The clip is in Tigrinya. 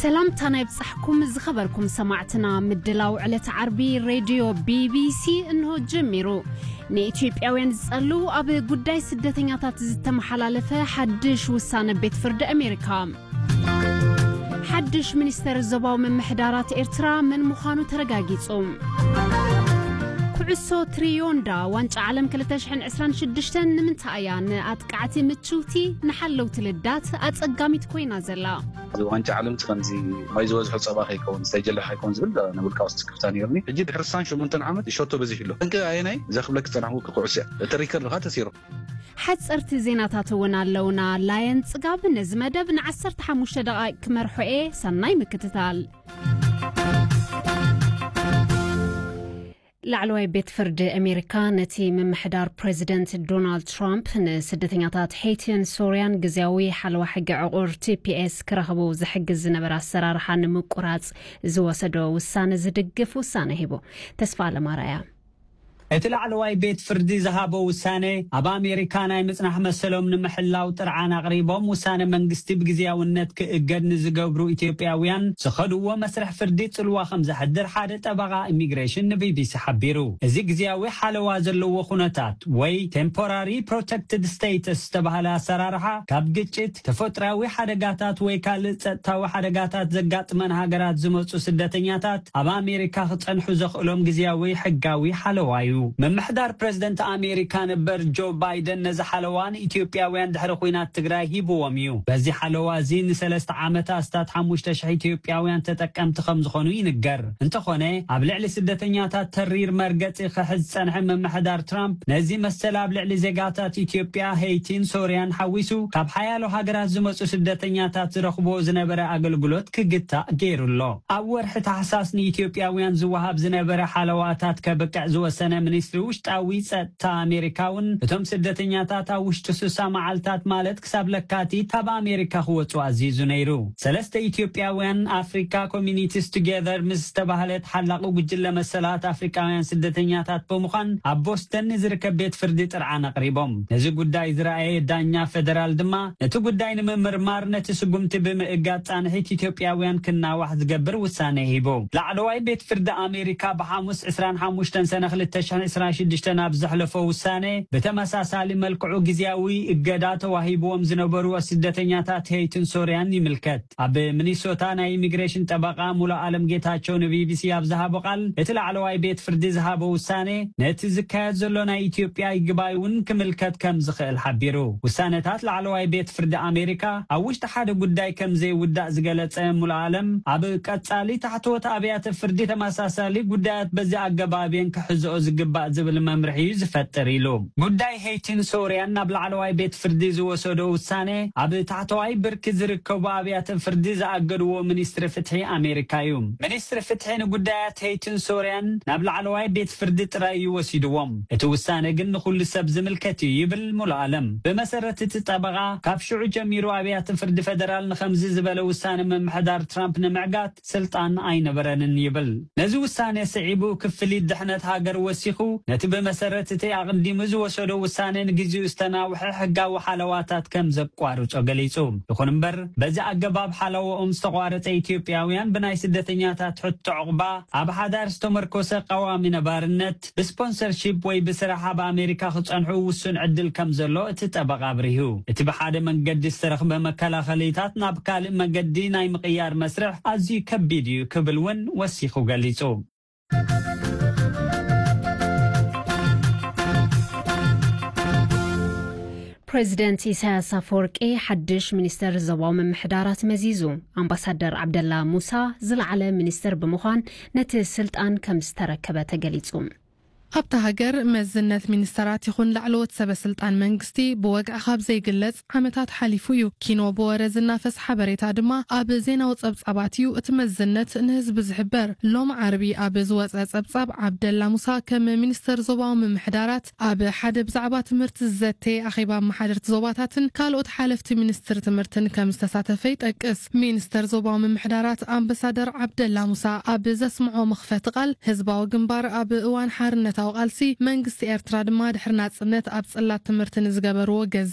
ሰላምታና ይብጻሕኩም ዝኸበርኩም ሰማዕትና። ምድላው ዕለተ ዓርቢ ሬድዮ ቢ ቢ ሲ እንሆ ጀሚሩ። ንኢትዮጵያውያን ዝጸልው ኣብ ጉዳይ ስደተኛታት ዝተመሓላለፈ ሓድሽ ውሳነ ቤት ፍርዲ ኣሜሪካ። ሓድሽ ሚኒስተር ዞባዊ ምምሕዳራት ኤርትራ መን ምዃኑ ተረጋጊጹ። ኩዕሶ ትሪዮንዳ ዋንጫ ዓለም ክልተ ሽሕን ዕስራን ሽዱሽተን ንምንታይ እያ ንኣጥቃዕቲ ምችውቲ ንሓለውቲ ልዳት ኣጸጋሚት ኮይና ዘላ? እዚ ዋንጫ ዓለም እቲ ከምዚ ማይ ዝበዝሖ ጸባ ከይከውን፣ ዝተጀለሐ ከይከውን ዝብል ናይ ውልቃዊ ስክፍታ ነይሩኒ። ሕጂ ድሕሪ ስሳን ሸሞንተን ዓመት ሸቶ በዚሑ ኣሎ። ጠንቂ ኣየናይ? እዛ ክብለክ ዝጸናሕኩ ኩዕሶ እያ። እቲ ሪከርድ ከኣ ተሲሩ። ሓጸርቲ ዜናታት እውን ኣለውና። ላየን ጽጋብ ነዚ መደብ ንዓሰርተ ሓሙሽተ ደቓይቕ ክመርሖ እየ። ሰናይ ምክትታል። ላዕለዋይ ቤት ፍርዲ ኣሜሪካ ነቲ ምምሕዳር ፕሬዚደንት ዶናልድ ትራምፕ ንስደተኛታት ሄይቲን ሶርያን ግዝያዊ ሓለዋ ሕጊ ዕቑር ቲ ፒ ኤስ ክረኽቡ ዝሕግዝ ዝነበረ ኣሰራርሓ ንምቁራጽ ዝወሰዶ ውሳነ ዝድግፍ ውሳነ ሂቡ። ተስፋ ኣለማራያ። እቲ ላዕለዋይ ቤት ፍርዲ ዝሃቦ ውሳነ፣ ኣብ ኣሜሪካ ናይ ምጽናሕ መሰሎም ንምሕላው ጥርዓን ኣቕሪቦም፣ ውሳነ መንግስቲ ብግዝያውነት ክእገድ ንዝገብሩ ኢትዮጵያውያን ዝኸድዎ መስርሕ ፍርዲ ጽልዋ ከም ዘሕድር ሓደ ጠበቓ ኢሚግሬሽን ን ቢ ቢ ሲ ሓቢሩ። እዚ ግዝያዊ ሓለዋ ዘለዎ ኩነታት ወይ ቴምፖራሪ ፕሮቴክትድ ስቴተስ ዝተባህለ ኣሰራርሓ፣ ካብ ግጭት፣ ተፈጥሮኣዊ ሓደጋታት ወይ ካልእ ጸጥታዊ ሓደጋታት ዘጋጥመን ሃገራት ዝመጹ ስደተኛታት ኣብ ኣሜሪካ ክጸንሑ ዘኽእሎም ግዝያዊ ሕጋዊ ሓለዋ እዩ። ምምሕዳር ፕሬዝደንት ኣሜሪካ ነበር ጆ ባይደን ነዚ ሓለዋ ንኢትዮጵያውያን ድሕሪ ኲናት ትግራይ ሂብዎም እዩ። በዚ ሓለዋ እዚ ንሰለስተ ዓመት ኣስታት ሓሙሽተ ሽሕ ኢትዮጵያውያን ተጠቀምቲ ከም ዝኾኑ ይንገር። እንተኾነ፣ ኣብ ልዕሊ ስደተኛታት ተሪር መርገጺ ክሕዝ ዝጸንሐ ምምሕዳር ትራምፕ፣ ነዚ መሰል ኣብ ልዕሊ ዜጋታት ኢትዮጵያ፣ ሄይቲን ሶርያን ሓዊሱ፣ ካብ ሓያሎ ሃገራት ዝመጹ ስደተኛታት ዝረኽብዎ ዝነበረ ኣገልግሎት ክግታእ ገይሩ ኣሎ። ኣብ ወርሒ ታሕሳስ ንኢትዮጵያውያን ዝወሃብ ዝነበረ ሓለዋታት ከብቅዕ ዝወሰነ ሚኒስትሪ ውሽጣዊ ጸጥታ ኣሜሪካ እውን፣ እቶም ስደተኛታት ኣብ ውሽጢ ስሳ መዓልታት፣ ማለት ክሳብ ለካቲት፣ ካብ ኣሜሪካ ክወጹ ኣዚዙ ነይሩ። ሰለስተ ኢትዮጵያውያን ኣፍሪካ ኮሚኒቲስ ቱጌዘር ምስ ዝተባህለ ተሓላቒ ጉጅለ መሰላት ኣፍሪካውያን ስደተኛታት ብምዃን ኣብ ቦስተን ንዝርከብ ቤት ፍርዲ ጥርዓን ኣቕሪቦም። ነዚ ጉዳይ ዝረኣየ ዳኛ ፌደራል ድማ፣ ነቲ ጉዳይ ንምምርማር ነቲ ስጉምቲ ብምእጋድ ጻንሒት ኢትዮጵያውያን ክናዋሕ ዝገብር ውሳነ ሂቡ። ላዕለዋይ ቤት ፍርዲ ኣሜሪካ ብሓሙስ ዕስራን ሓሙሽተን ሰነ ክልተ ሽሕን ዕስራን ሽዱሽተን ኣብ ዘሕለፎ ውሳነ፣ ብተመሳሳሊ መልክዑ ግዝያዊ እገዳ ተዋሂብዎም ዝነበሩ ስደተኛታት ሄይትን ሶርያን ይምልከት። ኣብ ሚኒሶታ ናይ ኢሚግሬሽን ጠበቓ ሙሉ ኣለም ጌታቸው ን ቢ ቢ ሲ ኣብ ዝሃቦ ቃል፣ እቲ ላዕለዋይ ቤት ፍርዲ ዝሃቦ ውሳነ፣ ነቲ ዝካየድ ዘሎ ናይ ኢትዮጵያ ይግባይ እውን ክምልከት ከም ዝኽእል ሓቢሩ። ውሳነታት ላዕለዋይ ቤት ፍርዲ ኣሜሪካ ኣብ ውሽጢ ሓደ ጉዳይ ከም ዘይውዳእ ዝገለጸ ሙሉ ኣለም፣ ኣብ ቀጻሊ ታሕተዎት ኣብያተ ፍርዲ ተመሳሳሊ ጉዳያት በዚ ኣገባብ እየን ክሕዝኦ ዝግባእ ዝብል መምርሒ እዩ ዝፈጥር ኢሉ። ጉዳይ ሄይቲን ሶርያን ናብ ላዕለዋይ ቤት ፍርዲ ዝወሰዶ ውሳነ፣ ኣብ ታሕተዋይ ብርኪ ዝርከቡ ኣብያተ ፍርዲ ዝኣገድዎ ሚኒስትሪ ፍትሒ ኣሜሪካ እዩ። ሚኒስትሪ ፍትሒ ንጉዳያት ሄይቲን ሶርያን ናብ ላዕለዋይ ቤት ፍርዲ ጥራይ እዩ ወሲድዎም። እቲ ውሳነ ግን ንኹሉ ሰብ ዝምልከት እዩ ይብል ሙሉ ኣለም። ብመሰረት እቲ ጠበቓ፣ ካብ ሽዑ ጀሚሩ ኣብያተ ፍርዲ ፌደራል ንኸምዚ ዝበለ ውሳነ ምምሕዳር ትራምፕ ንምዕጋት ስልጣን ኣይነበረንን ይብል። ነዚ ውሳነ ስዒቡ፣ ክፍሊት ድሕነት ሃገር ወሲኹ፣ ነቲ ብመሰረት እቲ ኣቕዲሙ ዝወሰዶ ውሳነ ንግዜኡ ዝተናውሐ ሕጋዊ ሓለዋታት ከም ዘቋርጾ ገሊጹ። ይኹን እምበር፣ በዚ ኣገባብ ሓለዋኦም ዝተቋረጸ ኢትዮጵያውያን ብናይ ስደተኛታት ሕቶ ዕቑባ፣ ኣብ ሓዳር ዝተመርኮሰ ቀዋሚ ነባርነት፣ ብስፖንሰርሺፕ ወይ ብስራሕ ኣብ ኣሜሪካ ክጸንሑ ውሱን ዕድል ከም ዘሎ እቲ ጠበቓ ኣብሪሁ። እቲ ብሓደ መንገዲ ዝተረኽበ መከላኸሊታት ናብ ካልእ መገዲ ናይ ምቕያር መስርሕ ኣዝዩ ከቢድ እዩ ክብል እውን ወሲኹ ገሊጹ። ፕሬዚደንት ኢሳያስ ኣፈወርቂ ሓድሽ ሚኒስተር ዞባዊ ምምሕዳራት መዚዙ። ኣምባሳደር ዓብደላ ሙሳ ዝለዓለ ሚኒስተር ብምዃን ነቲ ስልጣን ከም ዝተረከበ ተገሊጹ። ኣብታ ሃገር መዝነት ሚኒስተራት ይኹን ላዕለዎት ሰበ ስልጣን መንግስቲ ብወግዒ ካብ ዘይግለጽ ዓመታት ሓሊፉ እዩ። ኪኖ ብወረ ዝናፈስ ሓበሬታ ድማ ኣብ ዜናዊ ጸብጻባት እዩ እቲ መዝነት ንህዝቢ ዝሕበር። ሎም ዓርቢ ኣብ ዝወጸ ጸብጻብ፣ ዓብደላ ሙሳ ከም ሚኒስተር ዞባዊ ምምሕዳራት ኣብ ሓደ ብዛዕባ ትምህርቲ ዝዘተ ኣኼባ ኣመሓደርቲ ዞባታትን ካልኦት ሓለፍቲ ሚኒስትሪ ትምህርትን ከም ዝተሳተፈ ይጠቅስ። ሚኒስተር ዞባዊ ምምሕዳራት ኣምባሳደር ዓብደላ ሙሳ ኣብ ዘስምዖ መኽፈቲ ቃል፣ ህዝባዊ ግንባር ኣብ እዋን ሓርነታዊ ቃልሲ፣ መንግስቲ ኤርትራ ድማ ድሕሪ ናጽነት ኣብ ጽላት ትምህርቲ ንዝገበርዎ ገዚ